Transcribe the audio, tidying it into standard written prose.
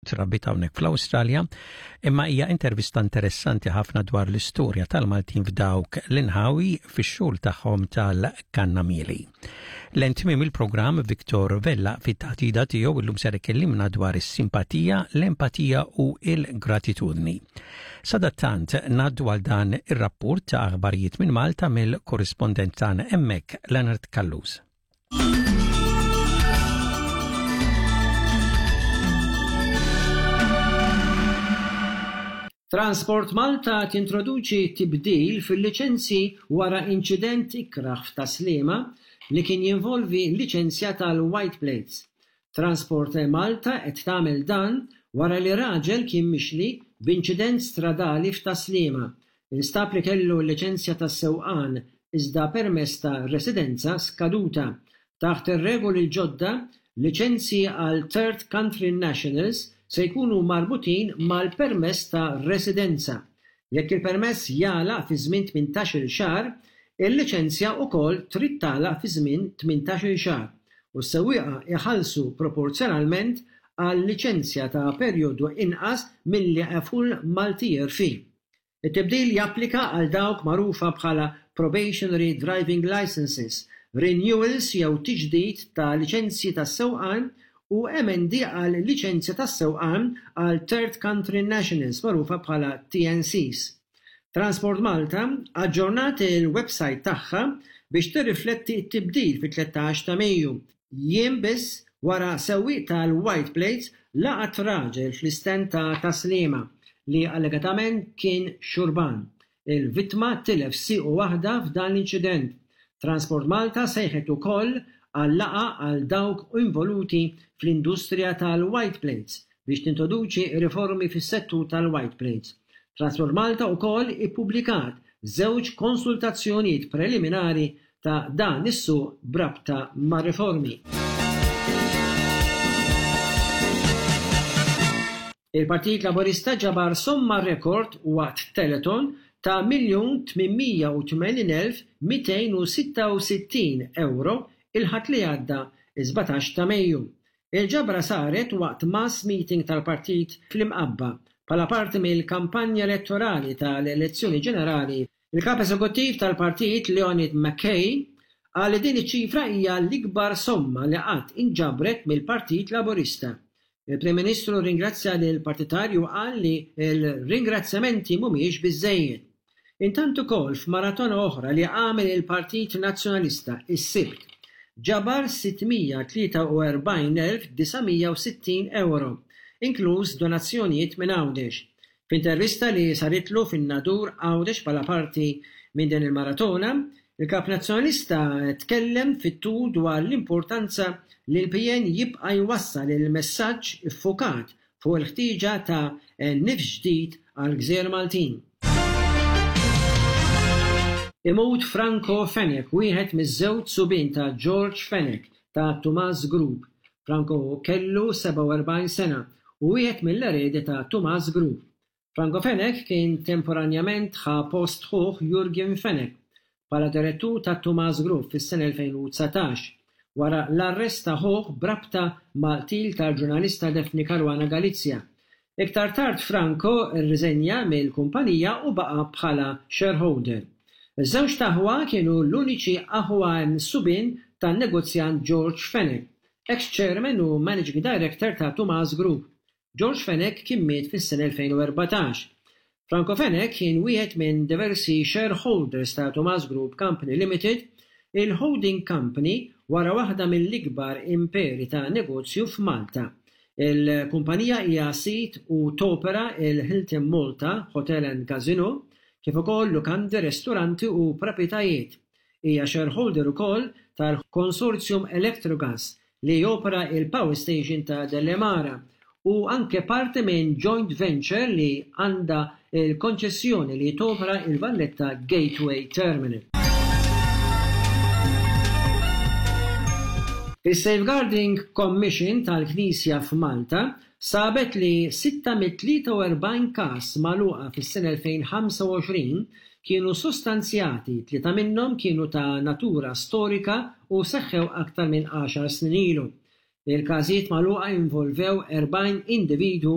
Trabbiet hawnhekk fl-Awstralja, imma hija intervista interessanti ħafna dwar l-istorja tal-Maltin f'dawk l-inħawi fix-xogħol tagħhom tal-kannamieli. Lejn tmiem il-programm Victor Vella fit-taħdida tiegħu illum ser ikellimna dwar is-simpatija, l-empatija u l-gratitudni. Sadattant ngħaddu għal dan ir-rapport ta' aħbarijiet minn Malta mill-korrispondent tagħna hemmhekk Leonard Callus. Transport Malta tintroduċi tibdil fil-liċenzji wara inċident ikrah f'Tas-Sliema li kien jinvolvi liċenzja tal-white plates. Transport Malta qed tagħmel dan wara li raġel kien mixli b'inċident stradali f'Tas-Sliema Instab li kellu l-liċenzja tas-sewqan iżda permess ta' residenza skaduta. Taħt ir-regoli l-ġodda, liċenzji għal third country nationals se jkunu marbutin mal-permess ta' residenza. Jekk il-permess jagħlaq fi żmien 18-il xahar, il-liċenzja wkoll trid tagħlaq fi żmien 18-il xahar u s-sewwieqa jħallsu proporzjonalment għal liċenzja ta' perjodu inqas milli a full multi-year fee. It-tibdil japplika għal dawk magħrufa bħala probationary driving licences, renewals jew tiġdid ta' liċenzji tas-sewqan u emendi għal liċenzja tas-sewqan għal third country nationals magħrufa bħala TNCs. Transport Malta aġġornat il-websajt tagħha biex tirrifletti t-tibdil fit-13 ta' Mejju, Jiem biss wara sewwieq tal-White Plates laqat raġel fl-istand ta' Tas-Sliema li allegatament kien xurban. Il-vittma tilef siequ waħda f'dan l-inċident. Transport Malta sejħet ukoll għal laqgħa għal dawk involuti fl-industrija tal-white plates biex tintroduċi riformi fis-settur tal-white plates. Transport Malta wkoll ippubblikat żewġ konsultazzjonijiet preliminari ta' dan is-suq b'rabta mar-riformi. Il-Partit Laburista ġabar somma rekord waqt telethon ta' 1,880,266 ewro il-Ħadd li għadda, is-17 ta' Mejju. Il-ġabra saret waqt mass meeting tal-partit fl-Imqabba bħala parti mill-kampanja elettorali tal-elezzjoni ġenerali Il-Kap Eżekuttiv tal-partit Leonid McKay qal li din iċ-ċifra hija l-ikbar somma li qatt inġabret mill-Partit Laburista. Il-Prim Ministru rringrazzja lill-partitarji u qal li l-ringrazzjamenti mhumiex biżżejjed. Intant ukoll f'maratona oħra li għamel il-Partit Nazzjonalista s-Sibt, ġabar 643,960 ewro, inkluż donazzjonijiet minn Għawdex. F'intervista li saritlu fin-Nadur Għawdex bħala parti minn din il-maratona, il-Kap Nazzjonalista tkellem fit-tul dwar l-importanza li l-PN jibqa' jwassal il-messaġġ iffukat fuq il-ħtieġa ta' nifs ġdid għall-gżejjer Maltin. Imut Franco Fenech, wieħed miż-żewġ subien ta' George Fenech ta' Tumas Group. Franco kellu 47 sena u wieħed mill-eredi ta' Tumas Group. Franco Fenech kien temporanjament ħa post ħuh Jurgen Fenech bħala direttur ta' Tumas Group fis-sena 2019, wara l-arrest ta' ħuh b'rabta mal-qtil tal-ġurnalista Daphne Caruana Galizia. Iktar tard Franco rriżenja mill-kumpanija u baqa' bħala shareholder. Iż-żewġt aħwa kienu l-uniċi aħwa subien tan-negozjant George Fenech, ex-chairman u managing director ta' Tumas Group. George Fenech kien miet fis-sena 2014. Franco Fenech kien wieħed minn diversi shareholders ta' Tumas Group Company Limited, il-holding company wara waħda mill-ikbar imperi ta' negozju f'Malta. Il-kumpanija hija sid u topera il-Hilton Malta Hotel and Casino, kif ukoll lukandi, restoranti u proprjetajiet. Hija shareholder ukoll tal-Consortium Electrogas li jopera il-power station ta' Delimara u anke parti minn joint venture li għandha l-konċessjoni li topera il-Valletta Gateway Terminal. Is-Safeguarding Commission tal-Knisja f'Malta sabet li sitta mit-43 każ magħluqa fis-sena 2025 kienu sostanzjati, tlieta minnhom kienu ta' natura storika u seħħew aktar minn għaxar snin ilu. Il-każijiet magħluqa involvew 40 individwu.